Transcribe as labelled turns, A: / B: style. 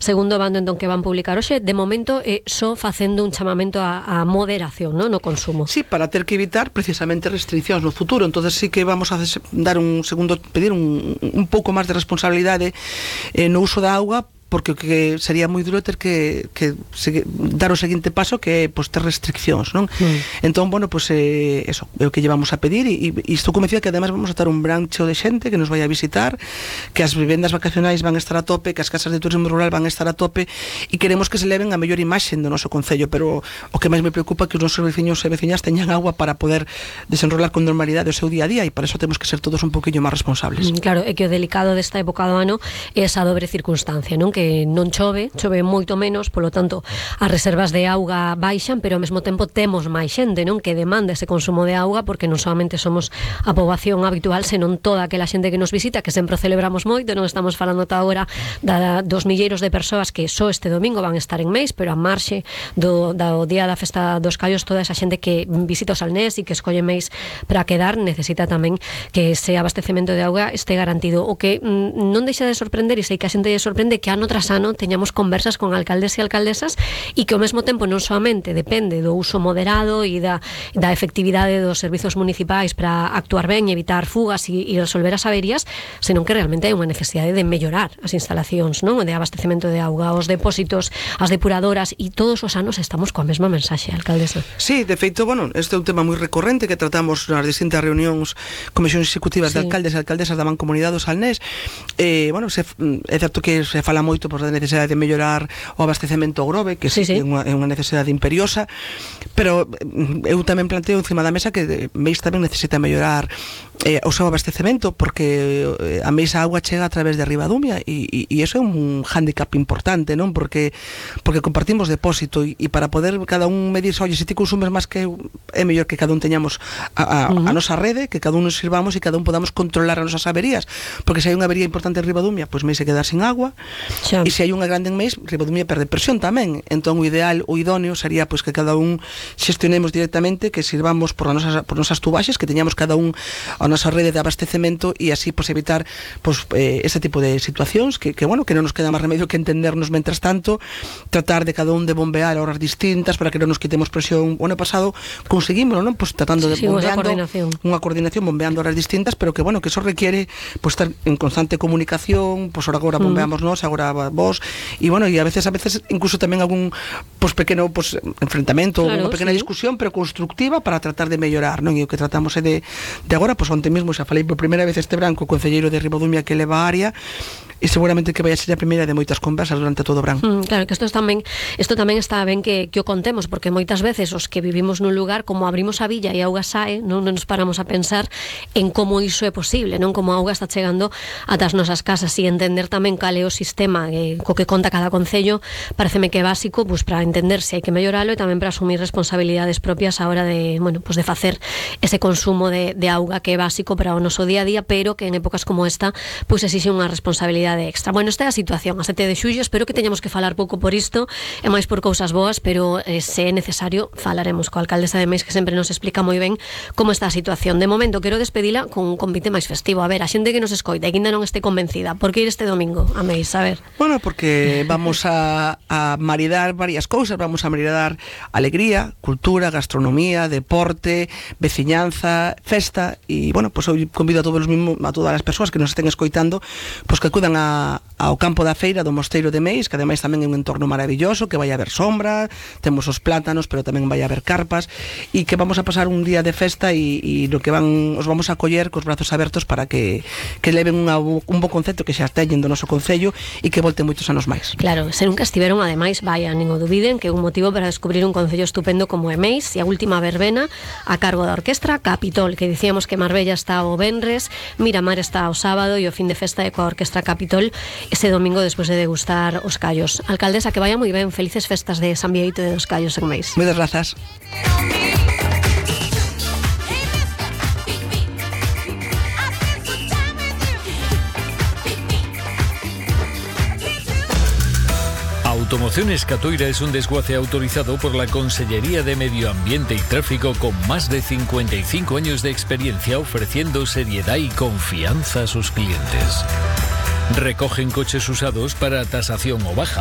A: segundo bando entón que van publicar hoxe, de momento só facendo un chamamento a moderación, no consumo.
B: Sí, para ter que evitar precisamente restriccións no futuro. Entonces sí que vamos a dar pedir un pouco máis de responsabilidade no uso da auga, porque o que sería moi duro ter que dar o seguinte paso, que é ter restriccións, non? Entón, bueno, eso é o que llevamos a pedir, e estou convencida que además vamos a estar un brancho de xente que nos vai a visitar, que as vivendas vacacionais van a estar a tope, que as casas de turismo rural van a estar a tope, e queremos que se leven a mellor imaxe do noso concello, pero o que máis me preocupa é que os nosos veciños e veciñas teñan agua para poder desenrolar con normalidade o seu día a día, e para eso temos que ser todos un poquinho máis responsables.
A: Claro, é que o delicado desta época do ano é esa dobre circunstancia, non? Que non chove moito menos, polo tanto as reservas de auga baixan, pero ao mesmo tempo temos máis xente, non? Que demanda ese consumo de auga, porque non solamente somos a poboación habitual, senón toda aquela xente que nos visita, que sempre o celebramos moito. Non estamos falando ata agora dos milleiros de persoas que só este domingo van estar en Meis, pero a marxe do día da festa dos Callos, toda esa xente que visita o Salnés e que escolle Meis para quedar, necesita tamén que ese abastecemento de auga este garantido. O que non deixa de sorprender, e sei que a xente lle sorprende, que ano tras ano teñamos conversas con alcaldes e alcaldesas, e que ao mesmo tempo non solamente depende do uso moderado e da efectividade dos servizos municipais para actuar ben e evitar fugas e resolver as averías, senón que realmente hai unha necesidade de mellorar as instalacións, non? De abastecemento de auga, os depósitos, as depuradoras, e todos os anos estamos coa mesma mensaxe, alcaldesa.
B: Sí, de feito, bueno, este é un tema moi recorrente que tratamos nas distintas reunións, comisións executivas de alcaldes e alcaldesas da Mancomunidade do Salnés. Bueno, é certo que se fala moito da necesidade de mellorar o abastecemento ao Grove, que sí. É unha necesidade imperiosa, pero eu tamén planteo encima da mesa que Meis tamén necesita mellorar o seu abastecemento, porque a Meis a auga chega a través de Ribadumia, e iso é un hándicap importante, non? Porque compartimos depósito, e para poder cada un medir, oye, se ti consumes máis que eu, é mellor que cada un teñamos a nosa rede, que cada un nos sirvamos e cada un podamos controlar as nosas averías, porque se hai unha avería importante en Ribadumia, pois Meis se quedar sin agua, e se hai unha grande en Meis, Ribadumia perde presión tamén. Entón o ideal, o idóneo sería pois que cada un xestionemos directamente, que sirvamos por nosas tubaxes, que teñamos cada un a nosa rede de abastecemento, e así pois evitar ese tipo de situacións que bueno, que non nos queda máis remedio que entendernos mentras tanto, tratar de cada un de bombear a horas distintas para que non nos quitemos presión. O ano pasado conseguímoslo, non? Pois tratando de bombeando unha coordinación, bombeando horas distintas, pero que bueno, que eso requiere pois estar en constante comunicación, pois agora bombeamos nós, agora vos, e bueno, e a veces incluso tamén algún pequeno enfrentamento, claro, unha pequena discusión, pero constructiva, para tratar de mellorar, non? E o que tratamos é de agora, onte mesmo xa falei por primeira vez este branco co concelleiro de Ribadumia que leva a área, e seguramente que vai a ser a primeira de moitas conversas durante todo o verán.
A: Claro, que isto tamén está ben que o contemos, porque moitas veces os que vivimos nun lugar, como abrimos a villa e a auga sae, non nos paramos a pensar en como iso é posible, non? Como a auga está chegando ata as nosas casas, e entender tamén cal é o sistema co que conta cada concello, pareceme que é básico para entender se hai que melloralo, e tamén para asumir responsabilidades propias a hora de de facer ese consumo de auga, que é básico para o noso día a día, pero que en épocas como esta exixe unha responsabilidade extra. Bueno, esta é a situación a 7 de xullo. Espero que teñamos que falar pouco por isto e máis por cousas boas, pero se é necesario falaremos coa alcaldesa de Meis, que sempre nos explica moi ben como está a situación. De momento quero despedila con un convite máis festivo. A ver, a xente que nos escoita e que ainda non este convencida, por que ir este domingo a Meis? A ver.
B: Bueno, porque vamos a maridar varias cousas. Vamos a maridar alegría, cultura, gastronomía, deporte, veciñanza, festa, e bueno, pois eu convido a todas as persoas que nos estén escoitando, pois que acudan ao campo da feira do Mosteiro de Meis, que ademais tamén é un entorno maravilloso, que vai haber sombra, temos os plátanos, pero tamén vai haber carpas, e que vamos a pasar un día de festa, e no que os vamos a acoller cos brazos abertos para que leven un bo concepto que xa teñen do noso concello, e que volten moitos anos máis.
A: Claro, se nunca estiveron, ademais, vayan, nin o dubiden, que é un motivo para descubrir un concello estupendo como é Meis, e a última verbena a cargo da Orquestra Capitol, que dicíamos que Marbella está o venres, Miramar está o sábado, e o fin de festa é coa Orquestra Capitol ese domingo despois de degustar os callos. Alcaldesa, que vaya moi ben, felices festas de San Bieito de dos Callos en Meis.
B: Moitas grazas.
C: Automociones Catoira es un desguace autorizado por la Consellería de Medio Ambiente y Tráfico, con más de 55 años de experiencia, ofreciendo seriedad y confianza a sus clientes. Recogen coches usados para tasación o baja.